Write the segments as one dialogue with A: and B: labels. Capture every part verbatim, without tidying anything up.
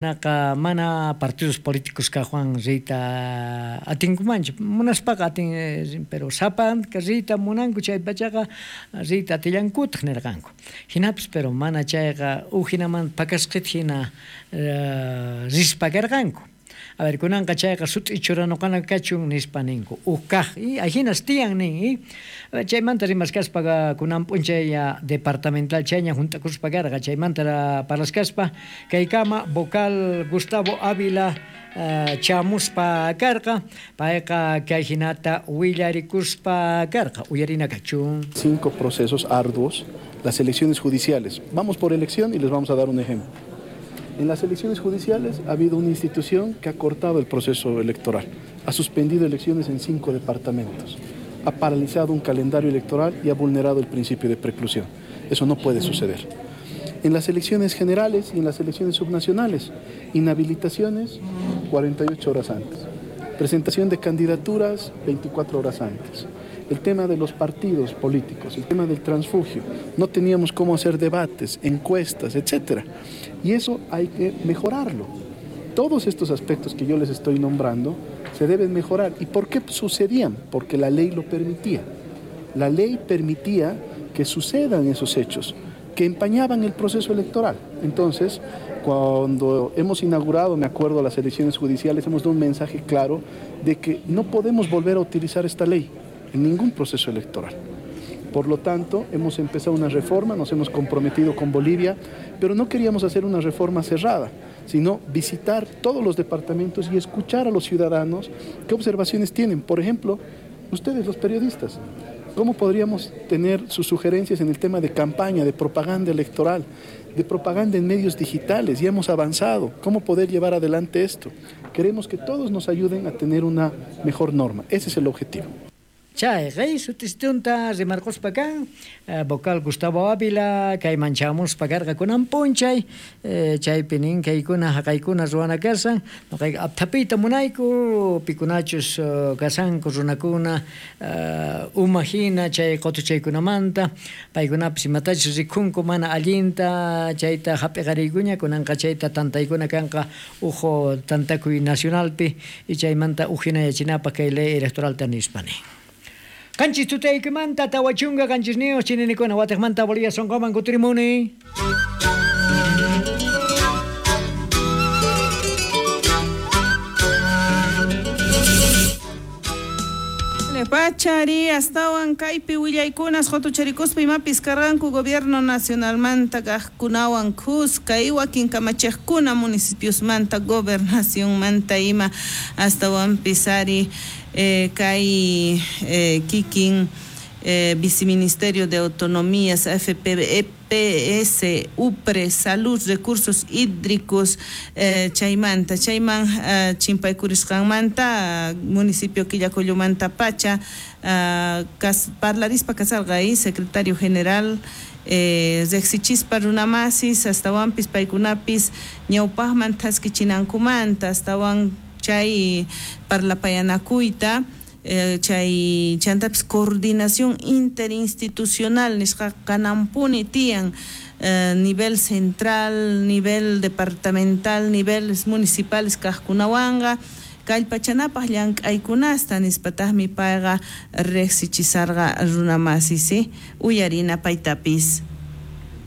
A: Naqa mana partidos políticos kaqwan riyta atinkumanchu, munaspaqa atin, pero sapanka riyta munanku chay pachaqa riyta atillankutaq nirqanku. Hinapis pero mana chayqa uj hinaman pakasqita hina rispa karqanku. A ver, kunanqa chayqa sut'i churanuqana kachun nispa ninku. Uj kaq, y ahinas tiyan nin, y chaymanta rimaskaspa kunan p'unchay departamental chayña junt'akuspa karqa, chaymanta parlaskaspa kaykama vocal Gustavo Ávila chamuspa karqa, payqa kay hinata willarikuspa karqa, uyarina kachun.
B: Cinco procesos arduos, las elecciones judiciales. Vamos por elección y les vamos a dar un ejemplo. En las elecciones judiciales ha habido una institución que ha cortado el proceso electoral, ha suspendido elecciones en cinco departamentos, ha paralizado un calendario electoral y ha vulnerado el principio de preclusión. Eso no puede suceder. En las elecciones generales y en las elecciones subnacionales, inhabilitaciones cuarenta y ocho horas antes, presentación de candidaturas veinticuatro horas antes. El tema de los partidos políticos, el tema del transfugio, no teníamos cómo hacer debates, encuestas, etcétera. Y eso hay que mejorarlo. Todos estos aspectos que yo les estoy nombrando se deben mejorar. ¿Y por qué sucedían? Porque la ley lo permitía. La ley permitía que sucedan esos hechos, que empañaban el proceso electoral. Entonces, cuando hemos inaugurado, me acuerdo, las elecciones judiciales, hemos dado un mensaje claro de que no podemos volver a utilizar esta ley en ningún proceso electoral. Por lo tanto, hemos empezado una reforma, nos hemos comprometido con Bolivia, pero no queríamos hacer una reforma cerrada, sino visitar todos los departamentos y escuchar a los ciudadanos qué observaciones tienen. Por ejemplo, ustedes, los periodistas, ¿cómo podríamos tener sus sugerencias en el tema de campaña, de propaganda electoral, de propaganda en medios digitales? Ya hemos avanzado. ¿Cómo poder llevar adelante esto? Queremos que todos nos ayuden a tener una mejor norma. Ese es el objetivo.
A: Chay, rey, sutistunta rimarquspa kan, vocal Gustavo Ávila, kayman chamuspa karqa kunan p'unchay, chaypi nin kaykuna haqaykuna ruwana kasan, noqayqa apthapiyta munayku, pikunachus kasanku runakuna uma hina chay qutuchaykunamanta, paykunapis imatachus rikhunku mana allinta, chayta hap'iqariykuña, kunanqa chayta tantaykuna kanqa uj tantakuy nacionalpi, y chaymanta uj hinayachinapaq kay ley electoralta nispa nin. Qanchis tutaykimanta tawachunga qanchisniyuq chininikuna watiqmanta Bolivia sonqoman kutirimuni.
C: Pachari astawan kaypi willaykunas qutucharikuspa imapis karqanku gobierno nacionalmanta kaqkunawan khuska y wakin kamachiqkuna municipiosmanta gobernacionmanta ima astawanpis ari eh, kay eh, kikin eh, viceministerio de autonomías F P E P S, U P R E, Salud, Recursos Hídricos, eh, chaymanta, chayman eh, chimpaykurisqanmanta, municipio Quillacollomanta Pacha, eh, kas, parlarispa kasarqa secretario general, eh, riqsichispa runamasis, astawanpis paykunapis ñawpaqman thaskichinankumanta, astawan chay parlapayanakuyta, Eh, chay chantapis coordinación interinstitucional nisqa kanampuni tiyan eh, nivel central, nivel departamental, niveles municipales kaqkunawanqa kallpachanapaq llank'aykunasta nispataqmi payqa riqsichisarqa runamasis, uyarina paytapis.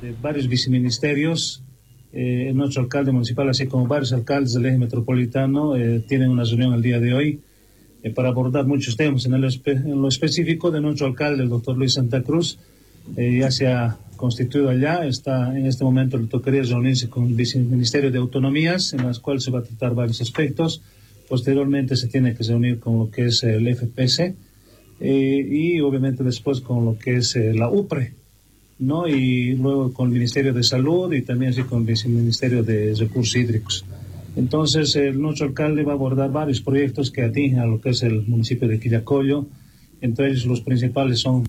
D: De varios viceministerios, eh, nuestro alcalde municipal, así como varios alcaldes del eje metropolitano, eh, tienen una reunión el día de hoy eh, para abordar muchos temas. En, el espe en lo específico de nuestro alcalde, el doctor Luis Santa Cruz, eh, ya se ha constituido allá, está en este momento le tocaría reunirse con el Viceministerio de Autonomías, en las cuales se va a tratar varios aspectos. Posteriormente se tiene que reunir con lo que es el F P C eh, y obviamente después con lo que es eh, la U P R E, ¿no? Y luego con el Ministerio de Salud y también así con el Viceministerio de Recursos Hídricos. Entonces, el nuestro alcalde va a abordar varios proyectos que atingen a lo que es el municipio de Quillacollo. Entre ellos, los principales son...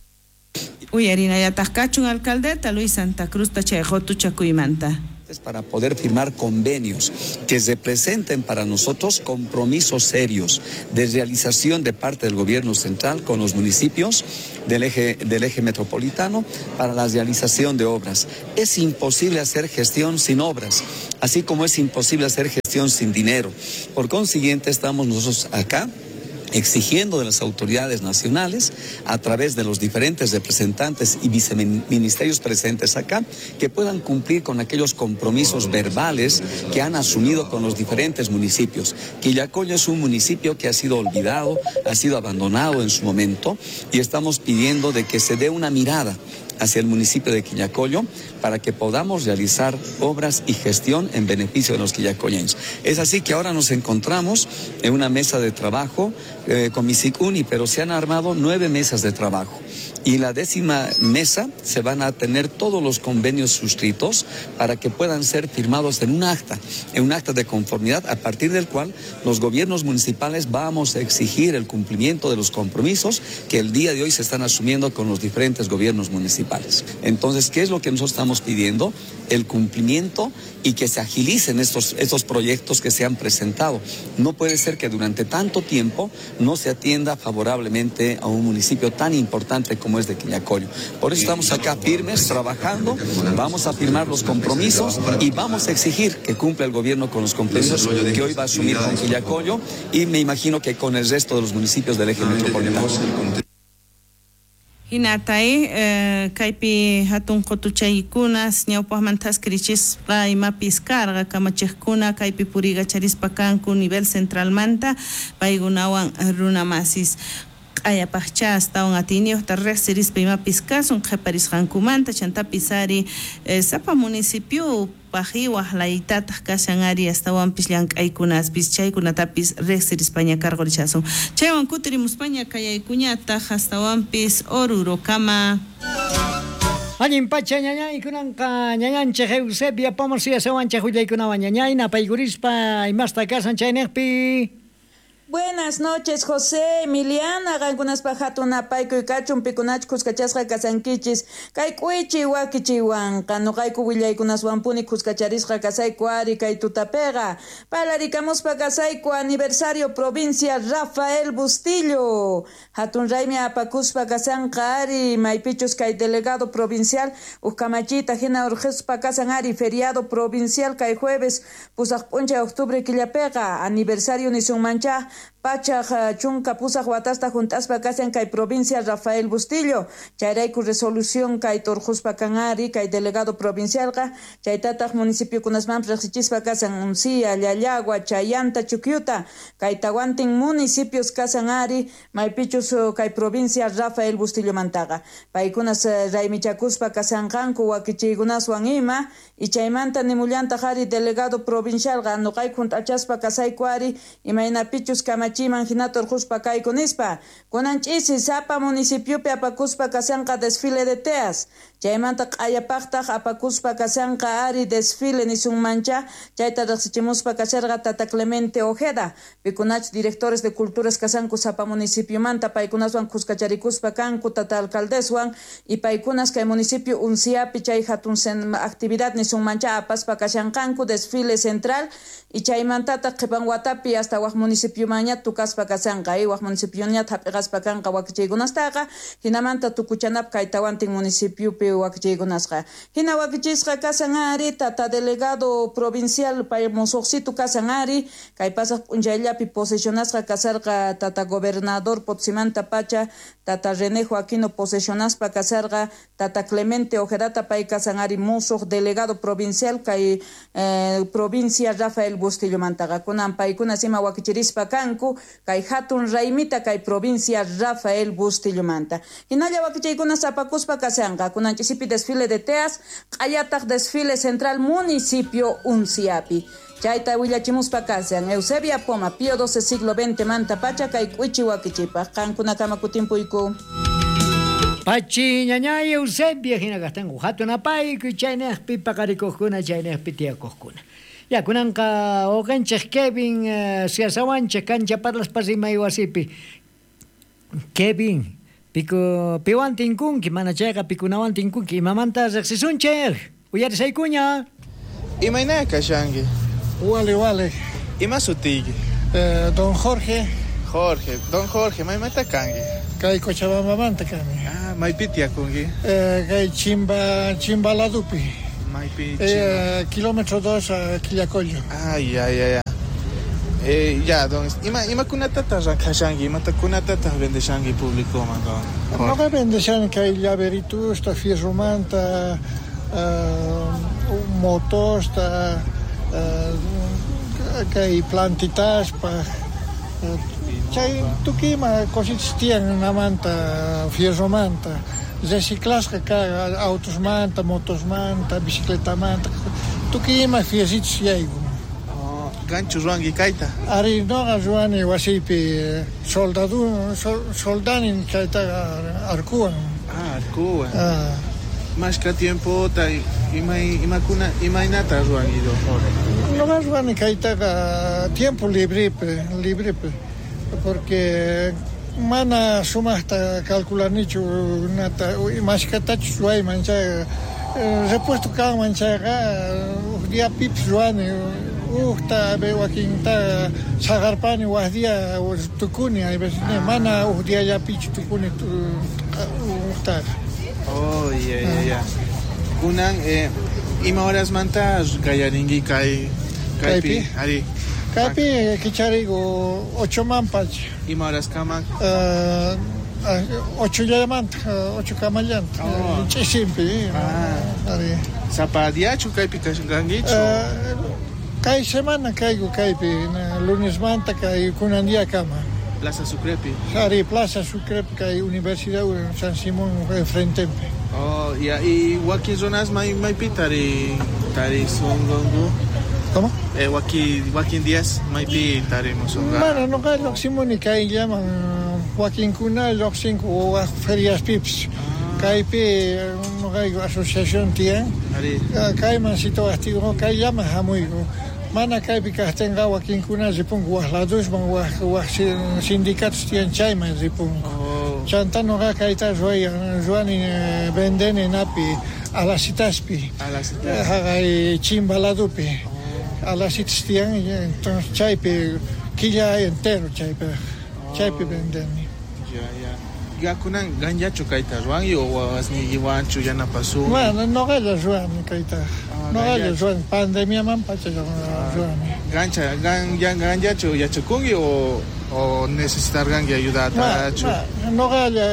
C: Uyarina yataq kachun alcaldeta Luis Santa Cruz tachay qutuchakuymanta.
E: Para poder firmar convenios que representen para nosotros compromisos serios de realización de parte del gobierno central con los municipios del eje, del eje metropolitano para la realización de obras. Es imposible hacer gestión sin obras, así como es imposible hacer gestión sin dinero. Por consiguiente, estamos nosotros acá exigiendo de las autoridades nacionales, a través de los diferentes representantes y viceministerios presentes acá, que puedan cumplir con aquellos compromisos verbales que han asumido con los diferentes municipios. Quillacollo es un municipio que ha sido olvidado, ha sido abandonado en su momento, y estamos pidiendo de que se dé una mirada hacia el municipio de Quillacollo para que podamos realizar obras y gestión en beneficio de los quillacolleños. Es así que ahora nos encontramos en una mesa de trabajo eh, con Misicuni, pero se han armado nueve mesas de trabajo. Y la décima mesa se van a tener todos los convenios suscritos para que puedan ser firmados en un acta, en un acta de conformidad, a partir del cual los gobiernos municipales vamos a exigir el cumplimiento de los compromisos que el día de hoy se están asumiendo con los diferentes gobiernos municipales. Entonces, ¿qué es lo que nosotros estamos pidiendo? El cumplimiento y que se agilicen estos, estos proyectos que se han presentado. No puede ser que durante tanto tiempo no se atienda favorablemente a un municipio tan importante como es de Quillacollo. Por eso estamos acá firmes, trabajando, vamos a firmar los compromisos y vamos a exigir que cumpla el gobierno con los compromisos que hoy va a asumir con Quillacollo y me imagino que con el resto de los municipios del eje metropolitano.
C: Hinatay, eh, kaypi hatun qutuchaykunas ñawpaqmantas krichisqa imapis karqa kamachiqkuna kaypi purigacharispa kanku nivel centralmanta paykunawan runamasis q'ayapaqcha astawan atiyniyuqta riqsirispa imapis kasun qhiparisqankumanta chantapis ari eh, sapa municipio pajiwaj laytataq kashan ari astawanpis llank'aykunaspis chaykunatapis riqsirispaña karqurichasun chaywan kutirimuspaña kayaykuñataq astawanpis Orurokama.
A: Allin pacha ñañay kunanqa ñañanchik Eusebia Pomos yasawanchik willaykunawan ñañay napaykurispa imasta kasan chayniqpi.
F: Buenas noches, José, Emiliana, qankunaspa hatun apaykuy kachun pikunach kuskachasqa kasankichis kay k'uichi wakichiwanqa nuqayku willaykunaswanpuni kuskacharisqa kasayku ari kay tutapiqa parlarikamuspa kasayku aniversario provincia Rafael Bustillo hatun raymi apakuspa kasanqa ari maypichus kay delegado provincial uj kamachiyta hina urqhispa kasan ari feriado provincial kay jueves pusaq p'unchay octubre killapiqa aniversario nisunmancha pachaj chunka pusaq watasta junt'aspa kasan kay provincia Rafael Bustillo chayrayku resolución kay turquspa kan ari kay delegado provincialqa chaytataq municipiokunasmanpis riqsichispa kasan Uncía, Llallagua, Chayanta, Chukyuta kay tawantin municipios kasan ari maypichus kay provincia Rafael Bustillomantaqa paykunas raymichakuspa kasanqanku wakichiykunaswan ima y chaymanta nimullantaq ari delegado provincialqa nuqayku junt'achaspa kasayku ari imaynapichus kamachiman hinata urquspa kayku nispa kunan ch'isi sapa municipiopi apakuspa kasanqa desfile de teas chaymanta q'ayapaqtaq apakuspa kasanqa ari desfile nisunmancha chayta riqsichimuspa kasharqa tata Clemente Ojeda pikunach directores de culturas kasanku sapa municipiomanta paykunaswan kuskacharikuspa kanku tata alcaldeswan y paykunas kay municipio Unciapi chay hatun actividad nisunmancha apaspa kashanqanku desfile central y chaymantataq qhipan watapi hasta waj municipiomanña tukaspa kasanqa y waj municipioña hap'iqaspa kanqa wakichiykunastaqa hinamanta tukuchanap kay tawantin municipiopi wakichiykunasqa hina wakichisqa kasan ari tata delegado provincial pay musuqsitu kasan ari kay pasaq p'unchayllapi posesionasqa kasarqa tata gobernador Potsimanta pacha tata René Joaquino posesionaspa kasarqa tata Clemente Ojedata pay kasan ari musuq delegado provincial kay eh, provincia Rafael Bustillomantaqa kunan paykunas ima wakichirispa kanku kay hatun raymita kay provincia Rafael Bustillo-manta hinalla wakichaykunas apakuspa kasanqa kunan ch'isipi desfile de teas q'ayataq desfile central municipio Unciapi chayta willachimuspa kasan Eusebia Poma Pío doce siglo veinte manta pacha kay k'uichi wakichipaq qankunakama kutimpuyku.
A: Pachi ñañay Eusebia hina kastanku hatun apaykuy chaynaqpi paqarikuqkuna chaynaqpi tiyakuqkuna. Ya kunanqa uqanchik Kevin uh, siasawanchik kancha parlaspa rimay wasipi. Kevin, piku piwan tinkunki mana chayqa pikunawan tinkunki imamanta riqsisunchik uyarisaykuña.
G: Imayna kashanki?
H: Wale, wale.
G: Ima sutiyki?
H: Eh, don Jorge.
G: Jorge, don Jorge, maymanta kanki?
H: Kay Cochabambamanta kani.
G: Ah, maypi tiyakunki?
H: Eh, kay Chimba, Chimbaladupi.
G: Maypi Chimba.
H: Eh, kilómetro dos a Quillacollo.
G: Ay, ay, ay, ay. Eh, ya, don, ima imakunatataq rakhashanki, imatakunatataq vendeshanki publicoman, don Jorge?
H: Noqa vendeshani kay llaveritusta, fierromanta, uh, motosta, uh, kay plantitaspaj, uh, chay tukuy ima cositas tiyan namanta, fierromanta, reciclasqa kaj autosmanta, motosmanta, bicicletamanta, tukuy ima fierritos yaykun.
G: Ganchu ruwanki kayta?
H: Ari, noqa ruwani wasiypi soldadu, sol, soldanin chaytaqa arkuwan.
G: Ah, arkuwan.
H: Ah.
G: Mashka tiempota ima imakuna imaynata ruwanki, don Jorge?
H: Noqa ruwani kaytaqa tiempo librepi, librepi, porque mana sumaqta calculanichu nata mashkatachus ruwayman chayqa, repuesto kanman chayqa uj diapipis ruwani. Ujta wakinta saqarpani waj día tukuni, hay veces ah. Mana uj diallapichu tukuni ujtaqa.
G: Oh, ya, ya, ya. Kunan, eh, ima horasmanta qallarinki kay kaypi? Ari.
H: Kaypi kicharigu ochoman pacha.
G: Ima horaskaman?
H: Uh, ochollamanta, ocho kamallanta.
G: Oh.
H: Ch'isinpi.
G: Ah.
H: Ari.
G: Sapa diachu kaypi kashankichu?
H: Uh, Kay semana kayku kaypi, lunesmanta kay kunan diakama.
G: Plaza Sucrepi.
H: Ari, Plaza Sucrepi kay Universidad San Simón enfrentepi.
G: Oh, ya, y wakin runas may maypi tari tari sunqunku?
H: ¿Cómo?
G: Eh, waki wakin días maypi tarimusunqa.
H: Mana noqa lluqsimuni kayllaman, wakinkuna lluqsinku waj feriaspipis. Kaypi noqayku asociación tiyan.
G: Ari.
H: Kayman situwaqtiyku kayllaman hamuyku. Mana kaypi kaqtinqa wakinkuna ripunku waj ladusman, waj waj sindicatos tiyan chayman ripunku.
G: Oh.
H: Chanta noqa kayta ruwayan, ruwani vendeni napi alasitaspi.
G: Alasitas.
H: Haqay Chimba ladupi.
G: Oh.
H: Alasitas tiyan, entonces chaypi killa entero chaypi,
G: Oh.
H: chaypi vendeni.
G: Ya, ya. Ya kunan ganllachu kayta ruwanki o wawasniykiwanchu yanapasunki?
H: Bueno, noqalla ruwani kayta.
G: Ah,
H: Noqalla ruwani, pandemiaman pacha ruwani.
G: Gancha, gan, yan, ganllachu yachakunki o, o necesitarqanki ayudatachu?
H: Noqalla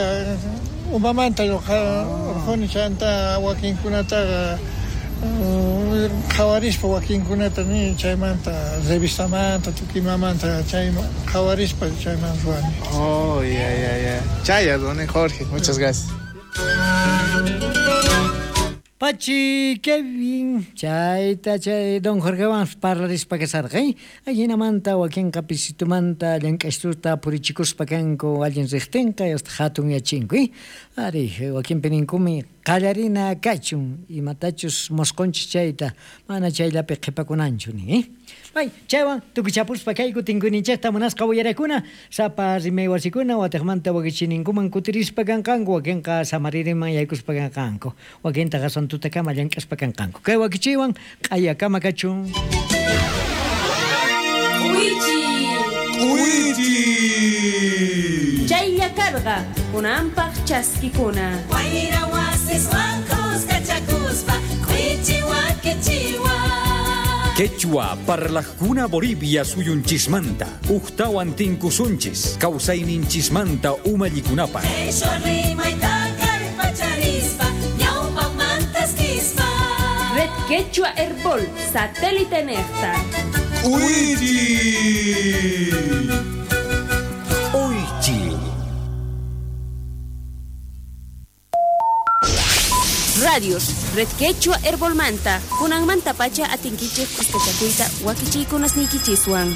H: umamanta urquni chanta wakinkunataqa qhawarispa wakinkunata ni chaymanta revistamanta tukimamanta chayman qhawarispa chayman ruwani.
G: Oh, ya, ya, ya. Chaya, don Jorge, muchas gracias.
A: Pachi, qué bien. Chayta chay don Jorgewan parlarispa kasarqa, eh? Ajinamanta wakinqa pisitumanta llank'ashtuta purichikuspa kanku allin riqtinqa hasta hatun yachinku, eh? Ari, wakinpi ninkumi qallarina kachun imatachus mosqonchis chayta mana chayllapi qhipakunanchu nin, eh? Ay, chaywan tukuchapuspa kayku tinkuninchikta munasqa willarakuna sapa rimay wasikuna watiqmanta wakichininkuman kutirispa kanqanku wakinqa samaririman yaykuspa kanqanku wakintaqa santutakama llank'aspa kanqanku kay wakichiywan q'ayakama kachun.
I: K'uichi.
G: K'uichi.
I: Chaylla karqa kunanpaq chaskikuna.
J: Wayra wasiswan kuskachakuspa k'uichi wakichiwan.
K: Quechua parlajkuna Bolivia suyunchismanta, ujtawan tinkusunchis, kawsayninchismanta umallikunapaq.
J: Qheshwa rimayta kallpacharispa, ñawpaqmantas kispa.
I: Red Quechua Herbol, satélite nejta.
G: K'uichi.
K: Uychi.
I: Radios, Red Quechua Herbolmanta, kunanmanta pacha atinkichej kuskachakuyta wakichiykunasniykichiswan.